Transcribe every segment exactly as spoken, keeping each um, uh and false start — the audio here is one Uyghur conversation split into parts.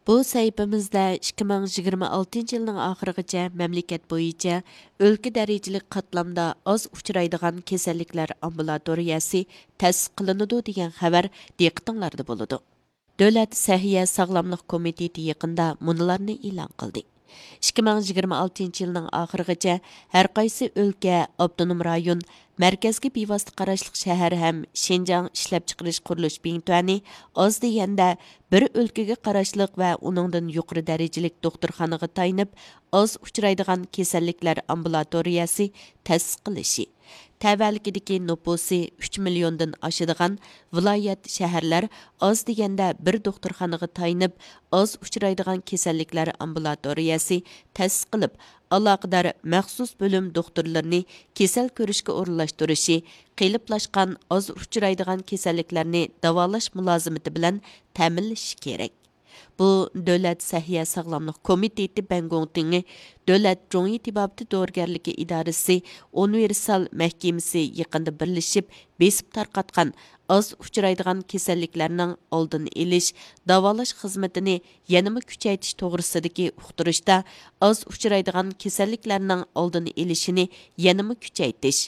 بۇ سەھىپىمىزدە ئىككى مىڭ يىگىرمە ئالتىنچى يىلنىڭ ئاخىرىغىچە مەملىكەت بويىچە ئۆلكە دەرىجىلىك قاتلامدا ئاز ئۇچرايدىغان كېسەللىكلەر ئامبۇلاتورىيەسى تەسىس قىلىنىدۇ دېگەن خەۋەر دىققىتىڭلاردا بولىدۇ. دۆلەت سەھىيە ساغلاملىق كومىتېتى يېقىندا مۇنۇلارنى ئېلان قىلدى. ئىككى مىڭ يىگىرمە ئالتىنچى يىلنىڭ ئاخىرىغىچە ھەرقايسى ئۆلكە، ئاپتونوم رايون، مەركەزگە بىۋاسىتە قاراشلىق شەھەر ھەم شىنجاڭ ئىشلەپچىقىرىش قۇرۇلۇش بىڭتۈەنى ئاز دېگەندە بىر ئۆلكىگە قاراشلىق ۋە ئۇنىڭدىن يۇقىرى دەرىجىلىك دوختۇرخانىغا تايىنىپ ئاز ئۇچرايدىغان كېسەللىكلەر ئامبۇلاتورىيەسى تەسىس قىلىشى، تەۋەلىكىدىكى نوپۇسى ئۈچ مىليوندىن ئاشىدىغان ۋىلايەت، شەھەرلەر ئاز دېگەندە بىر دوختۇرخانىغا تايىنىپ ئاز ئۇچرايدىغان كېسەللىكلەر ئامبۇلاتورىيەسى تەسىس قىلىپ، ئالاقىدار مەخسۇس بۆلۈم دوختۇرلىرىنى كېسەل كۆرۈشكە ئورۇنلاشتۇرۇشى، قېلىپلاشقان ئاز ئۇچرايدىغان كېسەللىكلەرنى داۋالاش مۇلازىمىتى بىلەن تەمىنلىشى كېرەك. بۇ دۆلەت سەھىيە ساغلاملىق كومىتېتى بەنگوڭتىڭى دۆلەت جۇڭيى تېبابىتى دورىگەرلىكى ئىدارىسى ئۇنىۋېرسال مەھكىمىسى يېقىندا بىرلىشىپ بېسىپ تارقاتقان ئاز ئۇچرايدىغان كېسەللىكلەرنىڭ ئالدىنى ئېلىش، داۋالاش خىزمىتىنى يەنىمۇ كۈچەيتىش توغرىسىدىكى ئۇقتۇرۇشتا، ئاز ئۇچرايدىغان كېسەللىكلەرنىڭ ئالدىنى ئېلىشىنى يەنىمۇ كۈچەيتىش،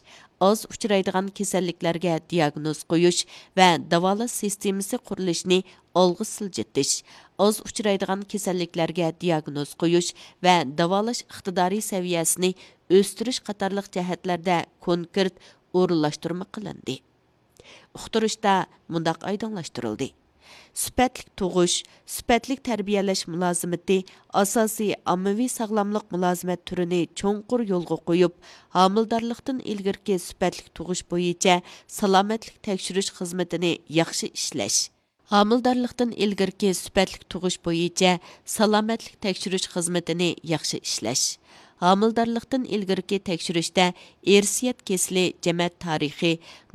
ئاز ئۇچرايدىغان كېسەللىكلەرگە دىياگنوز قويۇش ۋە داۋالاش سىستېمىسى قۇرۇلۇشىنى ئالغا سىلجىتىش، ئاز ئۇچرايدىغان كېسەللىكلەرگە دىياگنوز قويۇش ۋە داۋالاش ئىقتىدارى سەۋىيەسىنى ئۆستۈرۈش قاتارلىق جەھەتلەردە كونكرېت ئورۇنلاشتۇرما قىلىندى. ئۇقتۇرۇشتا مۇنداق ئايدىڭلاشتۇرۇلدى: سۈپەتلىك تۇغۇش، سۈپەتلىك تەربىيەلەش مۇلازىمىتى ئاساسىي ئاممىۋى ساغلاملىق مۇلازىمەت تۈرىنى چوڭقۇر يولغا قويۇپ، ھامىلىدارلىقتىن ئىلگىرىكى سۈپەتلىك تۇغۇش بويىچە سالامەتلىك تەكشۈرۈش خىزمىتىنى ياخشى ئىشلەش، ھامىلىدارلىقتىن ئىلگىرىكى سۈپەتلىك تۇغۇش بويىچە سالامەتلىك تەكشۈرۈش خىزمىتىنى ياخشى ئىشلەش، ھامىلىدارلىقتىن ئىلگىرىكى تەكشۈرۈشتە ئىرسىيەت كېسىلى، جەمەت تارىخى،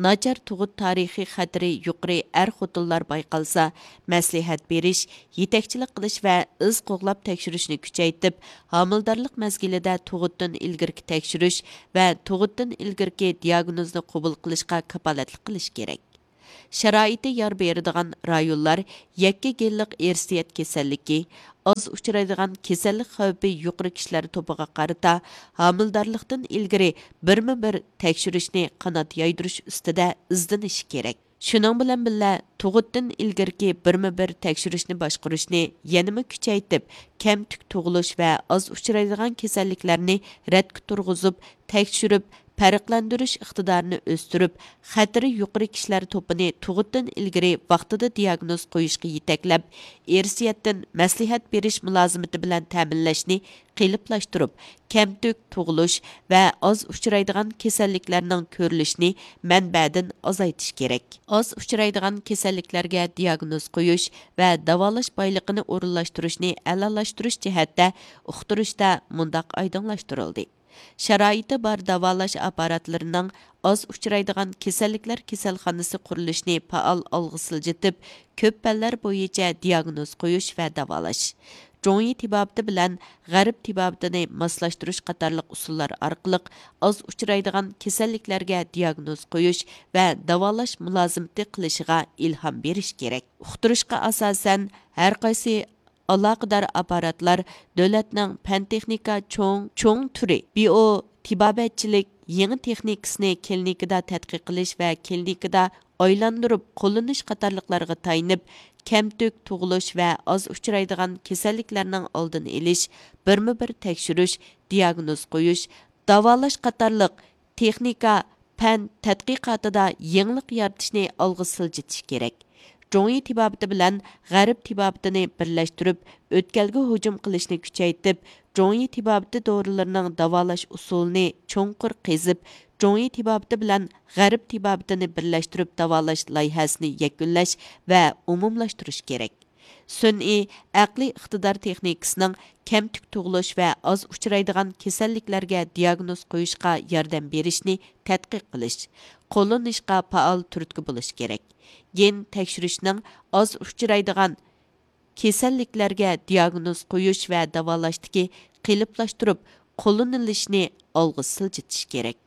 ناچار تۇغۇت تارىخى خەتىرى يۇقىرى ئەر-خوتۇنلار بايقالسا، مەسلىھەت بېرىش، يېتەكچىلىك قىلىش ۋە ئىز قوغلاپ تەكشۈرۈشنى كۈچەيتىپ، ھامىلىدارلىق مەزگىلىدە تۇغۇتتىن ئىلگىرىكى تەكشۈرۈش ۋە تۇغۇتتىن ئىلگىرىكى دىياگنوزنى قوبۇل قىلىشقا كاپالەتلىك قىلىش كېرەك. شارائىتى يار بېرىدىغان رايونلار يەككە گېنلىق ئىرسىيەت كېسەللىكى، ئاز ئۇچرايدىغان كېسەللىك خەۋپى يۇقىرى كىشىلەر توپىغا قارىتا ھامىلىدارلىقتىن ئىلگىرى بىرمۇ بىر تەكشۈرۈشنى قانات يايدۇرۇش ئۈستىدە ئىزدىنىشى كېرەك. شۇنىڭ بىلەن بىللە، تۇغۇتتىن ئىلگىرىكى بىرمۇ بىر تەكشۈرۈشنى باشقۇرۇشنى يەنىمۇ كۈچەيتىپ، كەمتۈك تۇغۇلۇش ۋە ئاز ئۇچرايدىغان كېسەللىكلەرنى رەتكە تۇرغۇزۇپ، تەكشۈرۈپ، پەرقلەندۈرۈش ئىقتىدارىنى ئۆستۈرۈپ، خەتىرى يۇقىرى كىشىلەر توپىنى تۇغۇتتىن ئىلگىرى ۋاقتىدا دىياگنوز قويۇشقا يېتەكلەپ، ئىرسىيەتتىن مەسلىھەت بېرىش مۇلازىمىتى بىلەن تەمىنلەشنى قېلىپلاشتۇرۇپ، كەمتۈك تۇغۇلۇش ۋە ئاز ئۇچرايدىغان كېسەللىكلەرنىڭ كۆرۈلۈشىنى مەنبەدىن ئازايتىش كېرەك. ئاز ئۇچرايدىغان كېسەللىكلەرگە دىياگنوز قويۇش ۋە داۋالاش بايلىقىنى ئورۇنلاشتۇرۇشنى ئەلالاشتۇرۇش جەھەتتە ئۇقتۇرۇشتا مۇنداق ئايدىڭلاشتۇرۇلدى: شارائىتى بار داۋالاش ئاپپاراتلىرىنىڭ ئاز ئۇچرايدىغان كېسەللىكلەر كېسەلخانىسى قۇرۇلۇشىنى پائال ئالغا سىلجىتىپ، كۆپ پەنلەر بويىچە دىياگنوز قويۇش ۋە داۋالاش، جۇڭيى تېبابىتى بىلەن غەرب تېبابىتىنى ماسلاشتۇرۇش قاتارلىق ئۇسۇللار ئارقىلىق ئاز ئۇچرايدىغان كېسەللىكلەرگە دىياگنوز قويۇش ۋە داۋالاش مۇلازىمىتى قىلىشىغا ئىلھام بېرىش كېرەك. ئۇقتۇرۇشقا ئاساسەن، ھەرقايسى ئالاقىدار ئاپپاراتلار دۆلەتنىڭ پەن-تېخنىكا چوڭ، چوڭ تۈرى، بىئو تېبابەتچىلىك يېڭى تېخنىكىسىنى كلىنىكىدا تەتقىق قىلىش ۋە كلىنىكىدا ئايلاندۇرۇپ قوللىنىش قاتارلىقلارغا تايىنىپ، كەمتۈك تۇغۇلۇش ۋە ئاز ئۇچرايدىغان كېسەللىكلەرنىڭ ئالدىنى ئېلىش، بىرمۇ بىر تەكشۈرۈش، دىياگنوز قويۇش، داۋالاش قاتارلىق تېخنىكا، پەن تەتقىقاتىدا يېڭىلىق يارىتىشنى ئالغا سىلجىتىش كېرەك. جۇڭيى تېبابىتى بىلەن غەرب تېبابىتىنى بىرلەشتۈرۈپ، ئۆتكەلگە ھۇجۇم قىلىشنى كۈچەيتىپ، جۇڭيى تېبابىتى دورىلىرىنىڭ داۋالاش ئۇسۇلىنى چوڭقۇر قېزىپ، جۇڭيى تېبابىتى بىلەن غەرب تېبابىتىنى بىرلەشتۈرۈپ داۋالاش لايىھەسىنى يەكۈنلەش ۋە ئومۇملاشتۇرۇش كېرەك. سۈنئىي، ئەقلىي ئىقتىدار تېخنىكىسىنىڭ كەمتۈك تۇغۇلۇش ۋە ئاز ئۇچرايدىغان كېسەللىكلەرگە دىياگنوز قويۇشقا ياردەم بېرىشنى تەتقىق قىلىش، قوللىنىشقا پائال تۈرتكە بولۇش كېرەك. گېن تەكشۈرۈشنىڭ ئاز ئۇچرايدىغان كېسەللىكلەرگە دىياگنوز قويۇش ۋە داۋالاشتىكى قېلىپلاشتۇرۇپ قوللىنىلىشىنى ئالغا سىلجىتىش كېرەك.